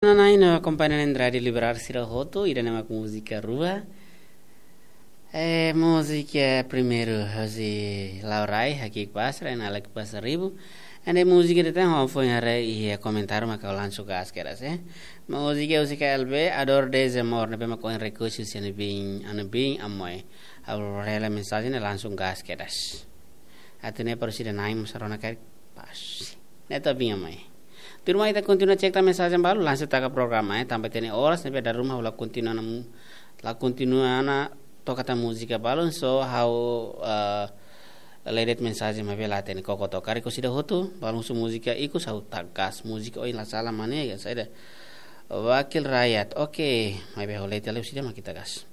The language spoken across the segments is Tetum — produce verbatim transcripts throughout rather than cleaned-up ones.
Nanain no akompaña na'in-rua Rádiu Liberal sira hotu, ida-ne'e mak múzika rua. Eh, múzika primeiru, husi Laurai, Hakik Pasra, Enalek Pasaribu. Ende múzika ida tan, ho foin haree iha komentáriu maka langsung gas kedas, eh. Múzika husi K L B, Ador Desamor, ne'ebé mak ohin request husi ami-nia biin, ami-nia biin Amoy. Ha'u rona hela mensajen ne'e langsung gas kedas. Atu ne'e para sira-na'in mós rona karik pas. Ne'e to'o biin Amoy. Tuirmai ita kontinua cek tan mensajen balu, langsung taka programa, eh. Tanba ita-nia oras, ne'ebé dala ruma ha'u la kontinua ona mu-, la kontinua ona toka tan múzika balu, so ha'u, eh, lee de'it mensajen maibé la hatene koko to'o. Karik husi ida hotu, balu husu múzika ikus ha'u taka gas. Múzika ohin la sala mane, ya, saida. Wakil Rakyat, oke, maibé ha'u lee tiha lai husi ida mak ita gas.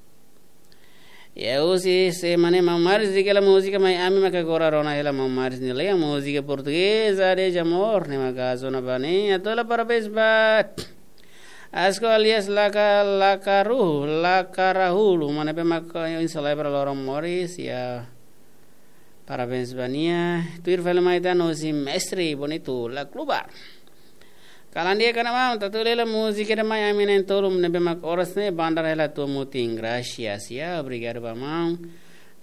Ya, husi se mane Maun Maris, di'ak hela múzika mai ami maka agora rona hela Maun Maris nia letra, múzika portugeza Desamor, ne'e maka zona bane, atu hela parabéns ba Asko alias Laka, Lakaru, Lakarahulu, mane ne'ebé maka ohin selebra loron moris, ya. Parabéns ba nia. Tuir fali mai tan husi Mestre Bonito, La Klubar. Kalan di'ak ona maun, atu hela múzika ida mai ami na'in-tolu ne'ebé mak oras ne'e bandar hela tua mutin, gracias, ya, obrigadu ba maun.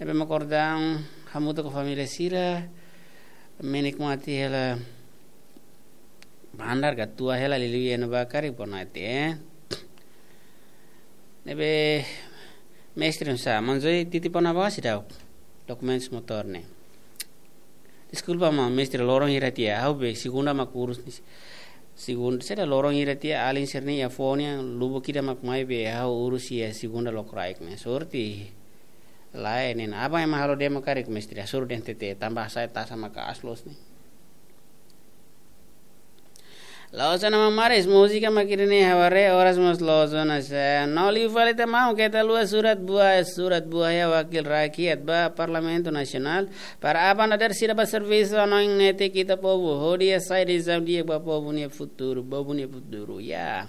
Ne'ebé mak oras daudaun hamutuk ho família sira, menikmati hela bandar ka tua hela liuliu iha ne'ebá karik, boa noite, eh. Ne'ebé Mestre, sa, Maun Zoi titip ona ba seidauk dokumentus motór ne'e. Deskulpa maun, Mestre, loron hira tiha, ha'u be segunda mak urus. Segunda, saida, loron hira tiha, alin sira-nia fone, lubuk ida mak mai be ha'u urus iha segunda lokraik ne'e. Sorte lae ne'e, aban ema halo demo karik, Mestre, hasoru dehan T T, tanba hasai taxa maka aas loos ne'e. Loos ona Maun Maris, múzika mak ida-ne'e ha'u haree oras mós loos ona, se no liu fali tan maun, keta haluha surat buah, surat buah iha Wakil Rakyat ba Parlamentu Nasionál, para aban dadeer sira bá servisu, hanoin netik ita povu, hodi hasai desizaun di'ak ba povu nia futuru, povu nia futuru, ya.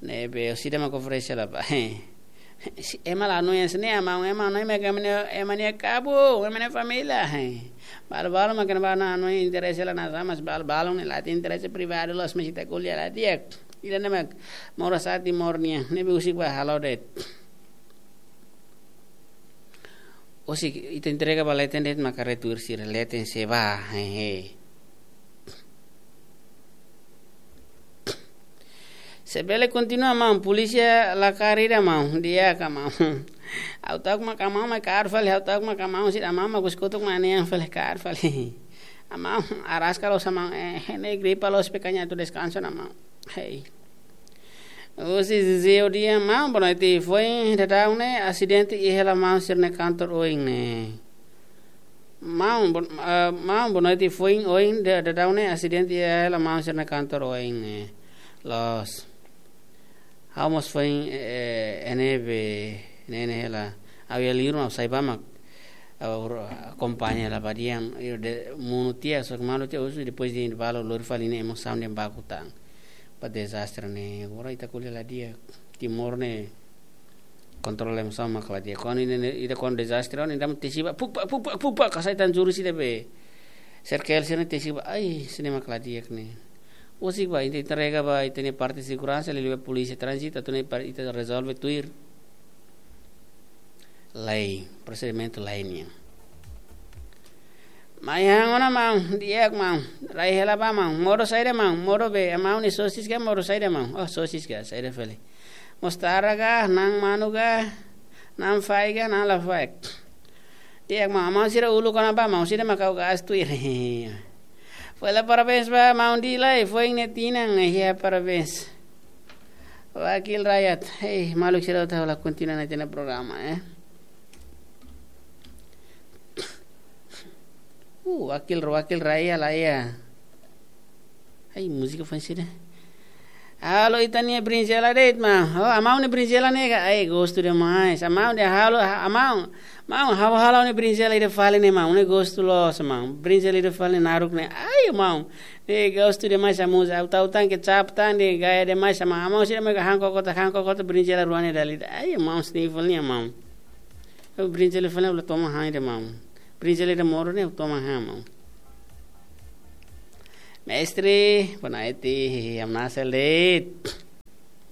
Ne'ebé husi ida mak oferese la ba. Si, ema la hanoin hanesan ne'e maun, ema hanoin mak ema nia, ema nia kabun, ema nia família, eh. Balu-balu mak ema la hanoin interese la nasa, mas balu-balu ne'e la iha interese privadu loos, mas ita ko'alia la di'ak. Ida-ne'e mak moras ati mornia, ne'ebé husik ba halo de'it. Husik ita entrega ba leten de'it maka retuir sira leten sei bá, hehe. Se bele kontinua maun, polísia la kaer ida maun, di'ak ka maun. Ha'u ta'uk maka maun mai kaer fali, ha'u ta'uk maka maun sira maun mak kotuk mak ne'e fali kaer fali. Maun araska loos maun, eh, ne'e gripa loos pekanya tu deskansa ona maun. Hei. Husi Zezé Odia, maun, boa noite, foin daudaun ne'e asidente iha hela maun sira-nia kantor oin ne'e. Maun, bo-, eh, maun, boa noite, foin oin da-, daudaun ne'e asidente iha hela maun sira-nia kantor oin ne'e. Loos. Ha'u mós foin, eh, iha ne'ebé, ne'e, ne'e hela. Ha'u iha liur mak ha'u sai bá mak, ha'u akompaña hela ba di'ak, ha'u dehan monu tiha, só ke malu tiha, husu depois de balu lori fali ne'e emosaun dehan baku tan. Ba dezastre ne'e, agora ita ko'alia la di'ak. Timor ne'e kontrola emosaun mak la di'ak. Kuandu ne'e, ne'e, ita kuandu dezastre, ne'e ita tesi bá, puk, pak, puk, pak, puk, pak, hasai tan juru sira be. Sirkel sira-ne'e tesi bá, ai, sira-ne'e mak la di'ak ne'e. Husik ba, ita entrega ba, ita-nia parte seguransa, liuliu ba polísia tránzitu, atu ne'e para ita rezolve tuir lei, prosedimentu lei nian. Mai han ona maun, di'ak maun, rai hela bá maun, modo saida maun, modo be, maun ne'e sosis ka modo saida maun, oh sosis ka, saida fali. Mostarda ka, na'an manu ka, na'an faik ka, na'an la faik. Di'ak maun, maun sira uluk ona bá maun, sira mak ha'u gas tuir. Fali parabéns ba maun Dilai, foin nia tinan, eh, ya parabéns. Wakil Rakyat, eh, maluk sira, ita hola kontinua ona ita-nia programa, eh. Uh, Wakil, Wakil Rakyat la iha. Ai, múzika fans ida. Halo ita-nia brinjela de'it maun. Oh, maun nia brinjela ne'e ka, ai, gostu demais. Maun dehan halo, maun, maun, ha'u halo nia brinjela ida fali ne'e maun, ne'e gostu loos maun. Brinjela ida fali ne'e naruk ne'e. Ai, maun. Ne'e gostu demais, maun. Ha'u ta'uk tan kecap tan, ne'e gaya demais maun. Maun sira mak han koko tan, han koko tan brinjela rua ne'e dala ida. Ai, maun, sniffle ne'e maun. Brinjela fali ne'e ha'u la toma han ida maun. Brinjela ida modo ne'e ha'u toma han maun. Mestre, boa noite, amnasel de'it.